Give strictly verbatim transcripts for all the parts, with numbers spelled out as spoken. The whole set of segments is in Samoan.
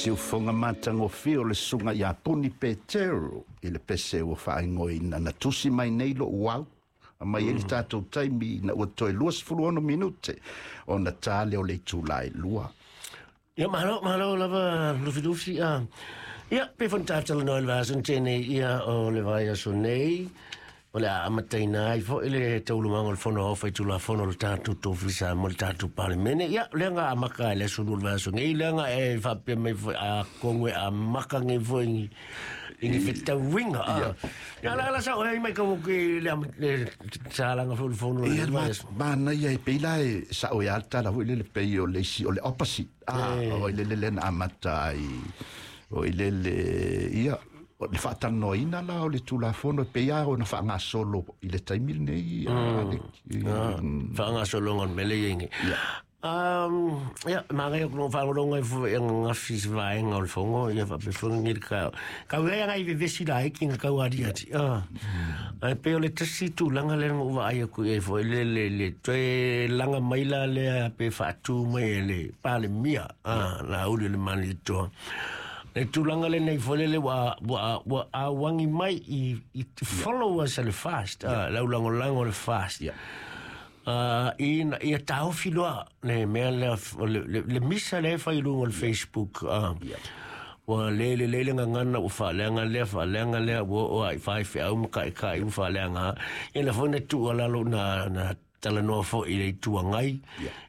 Siufoga matagofie o le susuga iā Puni Petero i le pese ua faaigoaina na tusi mai nei lo'u au mai ai le tatou taimi ina ua toe luasefulu ono minute ona ta lea o le itulā e lua. Ia, malo, malo lava Lufilufi. A ia, pe foi na talanoa i le vaiaso na tea nei, ia, o le vaiaso nei o le a amataina ai foi le taualumaga o le Fono Aoao Faitulafono o le tatou Tofi Samoa, le tatou Palemene. Ia, lea na amata i le aso lua o le vaiaso nei, lea na e faapea mai foi atonu e amata nei foi i i ni fetauiga. A ia, la la sao ai mai kau ke le le salaga foi o le fono le Ia, vaiaso. Manaia e pei la e sa'o e a le tala foi lele pei o le isi o le opposite a o i lele lea na amata ai o i lele ia o le faatalanoaina la o le Tulafono e pei lava ona faagasolo i le taimi lenei a le Faagasologa o le mea lea i ai nei. Um, ia, magaia ku no whangolonga i fo e ngawhi se vaenga o le fongo, ia whape fonga ngi ka. Kau ea ngai vevesi la hiki nga kau ari ati. Ah. Ai pe o le tasi tūlanga le ngo wa ai ku e fo le le le toe langa mai la le pe whaatu mai e le pale mia. Ah, la uli le mani toa. Le tūlanga le nei fo le le wa wa wa a wangi mai i i followers le fast. Ah, lau lango lango le fast. Yeah. Uh, ina ia taofi loa le mea lea le, le, le misa le fai i luga o le Facebook, uh, ua le le le le gagana ua faaleaga lea faaleaga lea ua oo ai faifeau ma kaʻikaʻi ua faaleaga ia na foi na tuualalo na na talanoa foi i le Itu Agai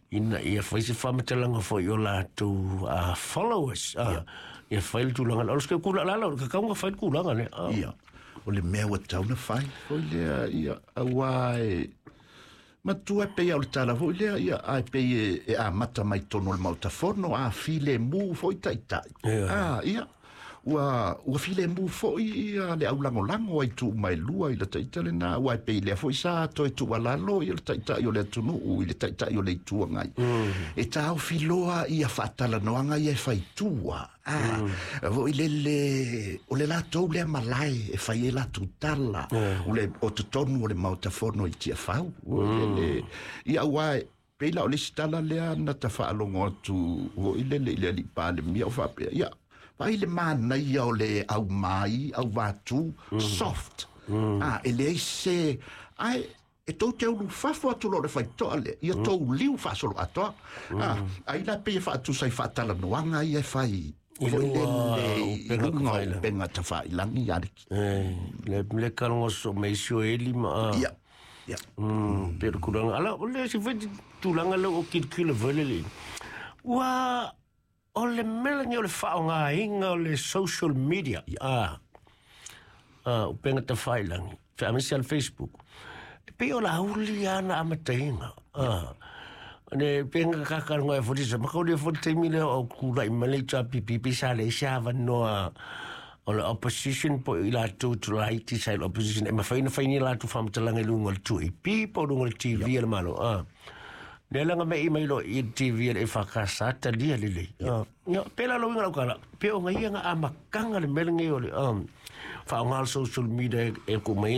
ina ia fai se faamatalaga foi o latou uh, followers, uh, ia fai le tulaga o le se kula lalo ka kaunga fai le kulaga le uh. Ia, o le mea ua tatau na fai foi lea ia auā e matua e pei o le tala foi lea ia ae pei e, e amata mai tonu o le Maota Fono a filemu foi ta'ita'i. Ia. A ia ua ua filemu foi ia le aulagolago ai tuu mai lua i le ta'ita lenā ua e pei lea foi sa toe tuualalo ia le ta'ita'i o le atunuu i le ta'ita'i o le Itu Agai e taofi loa ia faatalanoaga ia e faitua a foi lele o le latou lea malae e fai e latou tala o le o totonu o le Maota Fono i Tiafau o lele ia auā e pei la o le isi tala lea na tafaalogo atu foi lele i le alii Palemia o faapea ia vai le manaia o le aumai auvātū soft a e leai se ae e tou te ulufafo atu lo le faitoa lea ia tou liu faasolo atoa a ai la pei e faatusa i faatalanoaga ia e fai I foi luga lele o i upega luga o tafailagi. Upega tafailagi ia le Eh, le le kalongo so me isi o eli ma ah. Ia ia. Mm, pe le tulaga ala o le se foi tulaga le o kilikili foi le le ua o le mea lenei o le faaaogaina o le social media, ah ah upega tafailagi aemaise le Facebook e pei o le auli ana amataina ah ne penga kakalonga e fotisa makauli e foti taimi lea o kula'i mai le H R P P pe sa leai se avanoa o le opposition po i latou tulaiti sa i le opposition e mafai ona fai ni latou faamatalaga i luga o le two A P po o luga o le T V a le Malo a lea laga me'i mai lo i le T V a le E F K S talia lelei. Ia pe la lauiga lau kala pe o gaia ga amataga le mea lenei o le faaaoga le social media e ku mai.